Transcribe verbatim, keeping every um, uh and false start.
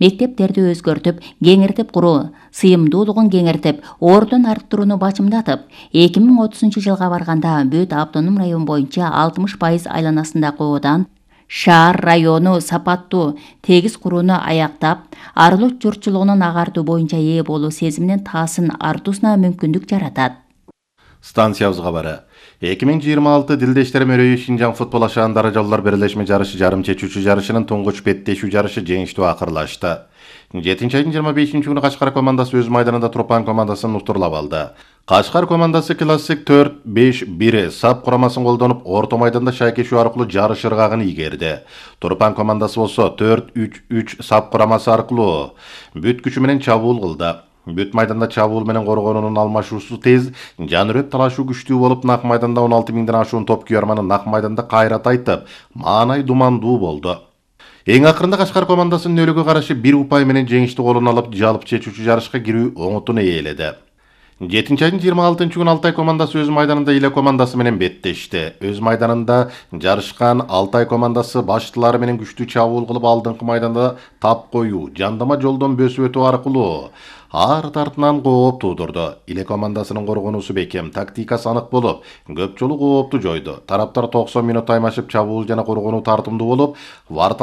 мектептерди өзгөртүп, кеңиртип куруу, сыйымдуулугун кеңиртип, ордун арттырууну бачымдатып, эки миң отузунчу жылга барганда бүт автоном район боюнча алтымыш пайыз айланасындагы оодан шаар району сапаттуу тегиз курууну аяктап, арылык журтчулугунун агартуу боюнча ээ болуу сезиминин таасын артуусуна мүмкүндүк жаратат. Станциябыз кабары. эки миң жыйырма алты Дилдештер мөрөйү Шинжаң футбол ашаандары жолдор бирлешме жарышы жарым чечүүчү жарышынын туңгуч беттешүү жарышы жеңиштүү акырлашты. жетинчи айдын жыйырма бешинчи күнү Кашкар командасы өз майданында Турпан командасын утурлап алды. Кашкар командасы классик төрт беш бир сап курамасын колдонуп, орто майданда шайкешүү аркылуу жарыш ыргагын ийгерди. Турпан командасы болсо төрт үч үч сап курамасы аркылуу бүт күчү менен чабуул кылды. Бүт майданда чабуул менен коргоонунун алмашуусу тез, жанырөп талашуу күчтүү болуп, нак майданда он алты миңден ашуун топ күйөрманы нак майданда кайра тайтып, маанай думандуу болду. Эң акырында Кашкар командасынын нөлүгө каршы бир упай менен жеңишти колуна алып, жалпы чечүүчү жарышка кирүү оңотун ээледи. жетинчи айдын жыйырма алтынчы күнү Алтай командасы өз майданында Иле командасы менен беттешти. Өз майданында жарышкан Алтай командасы баштылары менен күчтүү чабуул кылып, алдыңкы майданда тап коюу, жандама жолдон бөсүп өтүү аркылуу арт артынан кооп туудурду. Иле командасынын коргонуусу бекем, тактикасы анык болуп, көп жолу коопту жойду. Тараптар токсон мүнөт таймашып, чабуул жана коргонуу тартымдуу болуп,